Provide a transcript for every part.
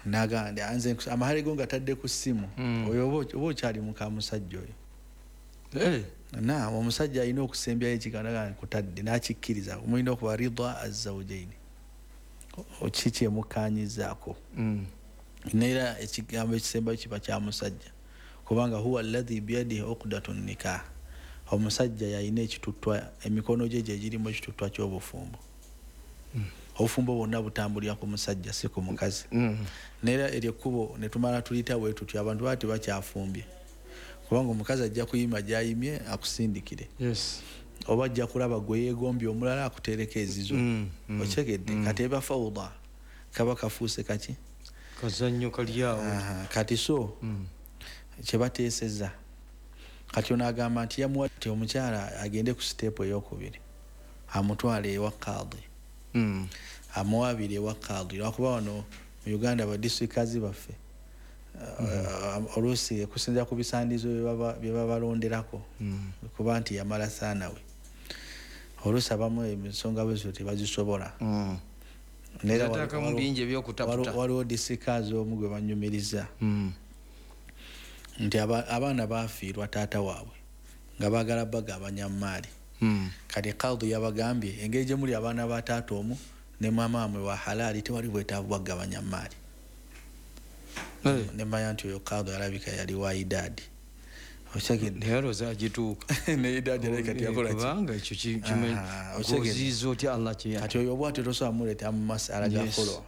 Nagamba nze amahale go nga tadde ku ssimu. Oyo oba okyali muka musajja oyo. Na omusajja alina okusembyayo ekigambo naga nkutadde n'akikkiriza. Mulina okuba ridwa azzawjaini, kiki emukkaanyizaako. Neera ekigambo ekisembayo kiba kya musajja, kubanga huwa alladhi biyadihi uqdatu nikah, omusajja yalina ekituttwa, emikono gye gye girimu ekituttwa ky'obufumbo. Obufumbo bwonna butambulira ku musajja, si ku mukazi. Neera eryo ekkubo ne tumala tuliyita bwe tutyo, abantu baba tebakyafumbye, kubanga omukazi ajja kuyima gy'ayimye akusindikire. Oba ajja kulaba gwe yeegombye omulala akuteereko ezizo. Okitegedde? Kati eba fawuda, kaba kafuuse kaki? Kazannyo kali awo. Kati so kyebateeseza kati ono agamba nti yamuwa nti omukyala agende ku siteepu eyokubiri, amutwale ewa kaadi, amuwaabire ewa kaadi, lwakuba wano mu Uganda badisitulikikazi baffe oluusi okusinziira ku bisaandizo bye babalonderako, kuba nti yamala saanawe, oluusi abamu ensonga bwezo tebazisobola. Neera Zateekamu bingi ebyokutaputa. Waliwo disitulikikazi omu gwe banyumiriza nti abaana bafiirwa taata waabwe nga baagala bagabanya maali. Kati kaadi yabagambye engeri gye muli abaana ba taata omu ne maama wamwe wa halaali, tewali bwetaavu bwagabanya maali. Nemanya nti oyo kaadi alabika yali wa idaadi. Okitegedde? Naye alowooza agituuka. Ne idaadi alabika teyakola ki? Kubanga ekyo Okitegedde? Oziyiza otya Allah kye Kati oyo bwatyo tosobola muleeta mu masala ga khulwa.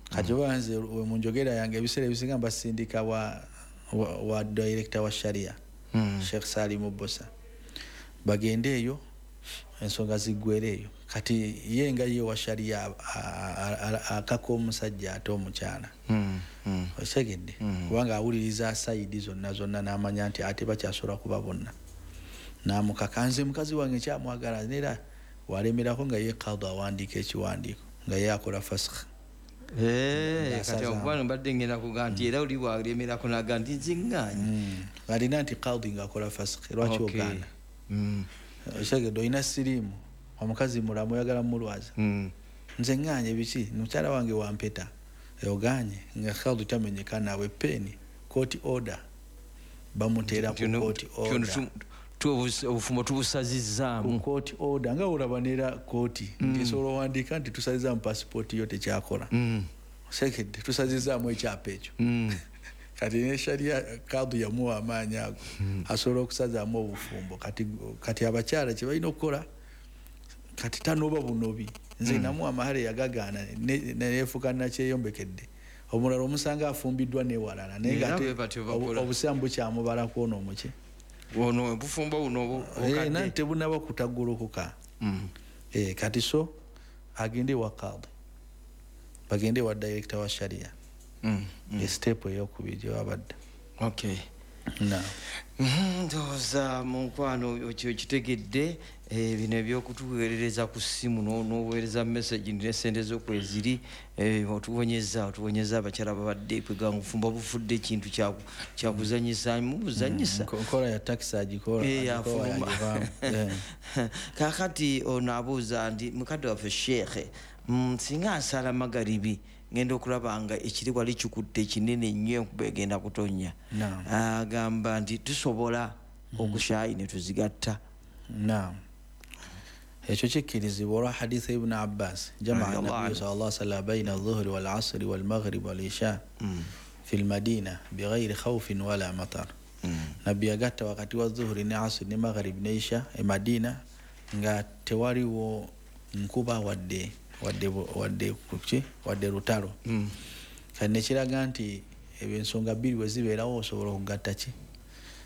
Kati oba nze we mu njogera yange ebiseera ebisinga mbasindika wa director wa sharia, Sheikh Salim Bosa, bagende eyo ensonga ziggwere eyo. Kati ye nga ye wa sharia akaka omusajja ate omukyala. Okitegedde? Kubanga awuliriza sayidi zonna zonna n'amanya nti ate bakyasobola kuba bonna, n'amukaka nze mukazi wange kyamwagala, neera walemerako nga ye kaadi awandiika ekiwandiiko nga ye akola fasakh. Kati okuba mbadde ngenda kugamba nti era oli bwalemerako naga nti nze ŋŋaanyi. Alina nti kaadi ng'akola fasakh, lwaki ogaana? Okitegedde? Olina siriimu, omukazi mulamu, oyagala mulwaza. Nze ŋŋaanye biki, mukyala wange wampeta, ogaanye nga kaadi tamenyeka naawe peeni court order bamuteera ku court order. Obufumbo tubusazizzaamu. Ku court order nga olaba neera kooti nti esobola owandiika nti tusazizaamu pasipooti yo tekyakola. Osekedde? Tusazizaamu ekyapa ekyo. Kati ne sharia kaadi yamuwa amaanyi ago, asobola okusazaamu obufumbo. Kati abakyala kye balina okukola kati tanoba bunobi, nze namuwa amahale yagagaana neyefuuka nakyeyombekedde. Omulala omusanga afumbiddwa newalala, naye nga Era ate bwe batyo bakola. Obusiraamu bukyamubala kwona omuki Ono obufumbo buno obukadde. Nanti tebunaba kutaggulukuka. Kati so agende ewa kaadi, bagende ewa director wa sharia, estep eyokubiri gye babadde. Na Ndowooza mu nkwano ekyo kitegedde. Bino ebyokutuweerereza ku ssimu n'oweereza message nti nesente zokweziri, otuwonyeza abakyala babadde kweganga obufumbo bufudde ekintu kyakuzanyisa mubuzanyisa. Nkola ya taxi agikola, agikola Afuluma. yagivaamu. Kakati ono abuuza nti mukadde waffe sheekhe, singa nsala magaribi ngenda okulaba nga ekiri wali kikutte kinene nnyo, enkuba egenda kutonnya. Agamba nti tusobola okushaayi ne tuzigatta? Naam, ekyo kikkirizibwa olwa haditha Ibuni Abbas, jamaa Radiyallahu nabiyu anhu. Sallallahu alaihi wasallam baina dhuhuri wal asri wal maghrib wal isha fi lmadina bighairi khawfin wala matar. Nabbi yagatta wakati wa dhuhuri ne asri ne maghrib ne isha e Madina nga tewaliwo nkuba wadde kuki wadde lutalo. Kati nekiraga nti ebyo ensonga bbiri bwe zibeerawo osobola okugatta ki?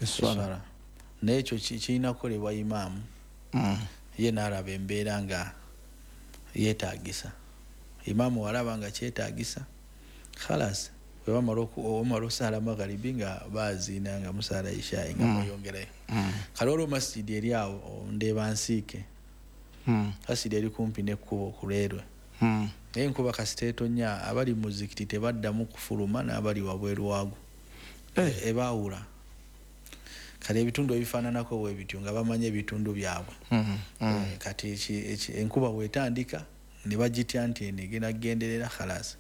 Eswala. Eswala. Naye ekyo kirina kukolebwa imaamu, ye n'alaba embeera nga yeetagisa. Imaamu walaba nga kyetaagisa, khalas, bwe bamala omala osaala magharibi nga baziina nga musaala ishayi nga mweyongerayo. Kale olwo masjidi eri awo ndeeba nsiike, masjidi eri kumpi n'ekkubo ku lwerwe, naye enkuba kasita etonya abali mu muzikiti tebaddamu kufuluma n'abali wabweru waagwo. Ebaawula. Kale ebitundu ebifaananako bwe bityo nga bamanyi ebitundu byabwe. Kati enkuba bwetandika ne bagitya nti eno egenda kugenderera, khalas.